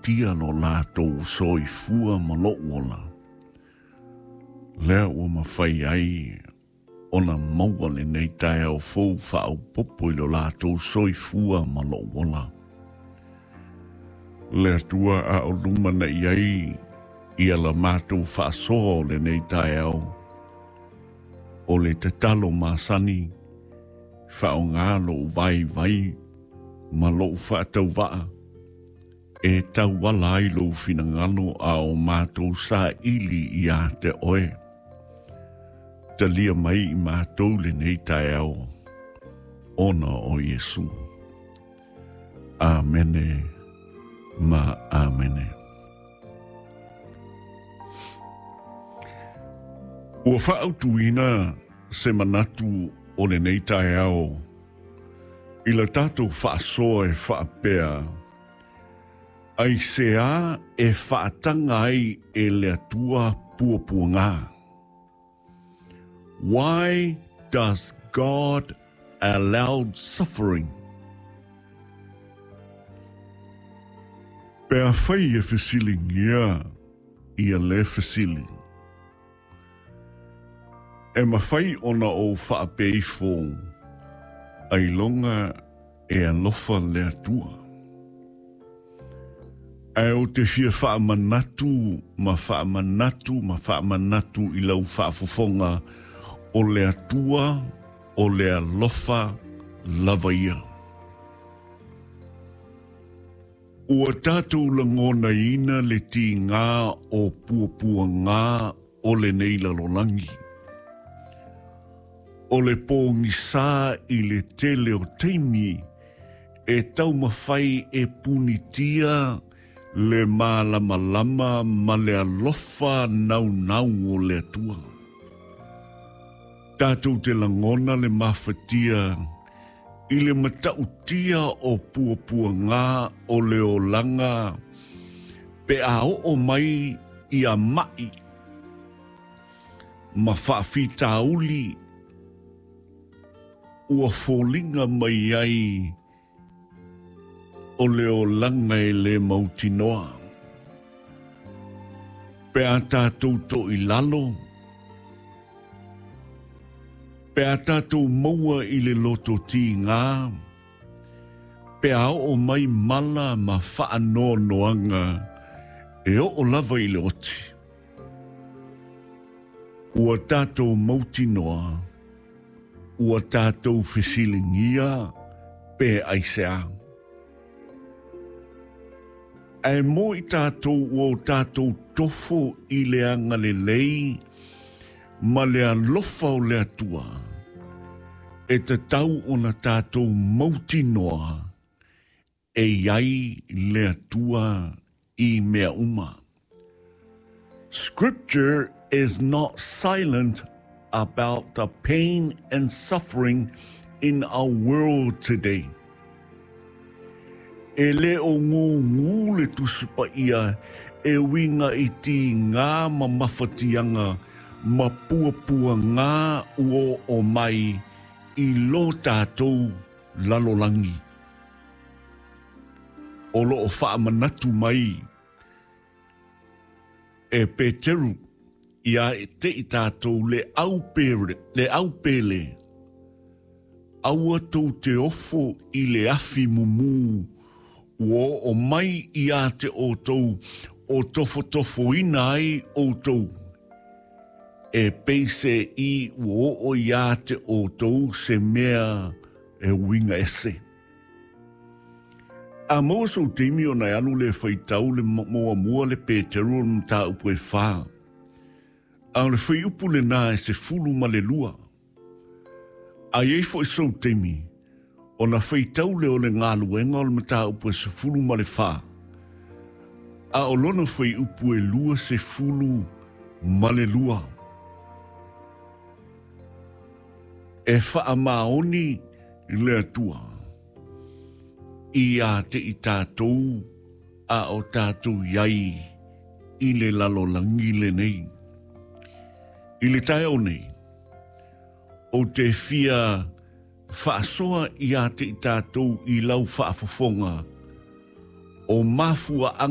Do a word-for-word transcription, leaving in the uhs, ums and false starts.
mafatia lo latou soifua ma lou ola. Lea ua mafai ai ona maua lenei taeao fou faaopoopo i lo latou soifua ma lou ola. Le Atua a o lumanai ai ia la matou faasoa o lenei taeao. O le tatalo masani, faaaoga lou vaivai ma lou faatauvaa e tauala ai lou finagalo a o matou saili ia te oe. Talia mai i matou lenei taeao, ona o Iesu. Amene ma amene. Ua faautuina se manatu o lenei taeao i la tatou faasoa e faapea, aisea e faataga ai e le Atua puapuaga. Why does God allow suffering? Pe afai e fesiligia ia le fesili. E mafai ona ou faapea ifo, ailoga e alofa le Atua. Ae ou te fia faamanatu ma faamanatu ma faamanatu i lau faafofoga o le Atua o le alofa lava ia. Ua tatou lagonaina le tiga o puapuaga o lenei lalolagi. O le pogisa i le tele o taimi e taumafai e punitia le malamalama ma le alofa naunau o le Atua. Tatou te lagona le mafatia i le matautia o puapuaga o le olaga pe a oo mai ia mai ma faafitauli ua foliga mai ai o le olaga e le mautinoa. Pe a tatou toilalo, pe a tatou maua i le loto tiga, pe a oo mai mala ma faanoanoaga e oo lava i le oti. Ua tatou mautinoa, ua tatou fesiligia pe aisea. Ae mo i tatou ua o tatou tofo i le agalelei ma le alofa o le Atua, e tatau ona tatou mautinoa e i ai le Atua i mea uma. Scripture is not silent about the pain and suffering in our world today. E le o gugu le Tusi Paia e uiga i tiga ma mafatiaga ma puapuaga ua oo mai i lo tatou lalolagi. O loo faamanatu mai e Peteru ia te i tatou le au pele, le au pele, aua tou te ofo i le afi mumu, ua oo mai ia te outou o tofotofoina ai outou. E peise i ua oo ia te outou se mea e uiga ese. A maua sou taimi ona e alu le faitau le muamua le Peteru o le mataupu e fa. A o le fuaiupu lena e sefulu ma le lua. A i ai foi sou taimi, ona faitau lea o le galuega o le mataupu e sefulu ma le fa. A o lona fuaiupu e lua sefulu ma le lua. E faamaoni le Atua ia te i tatou a o tatou i ai i le lalolagi lenei. I le taeao nei, ou te fia faasoa ia te i tatou i lau faafofoga o mafuaaga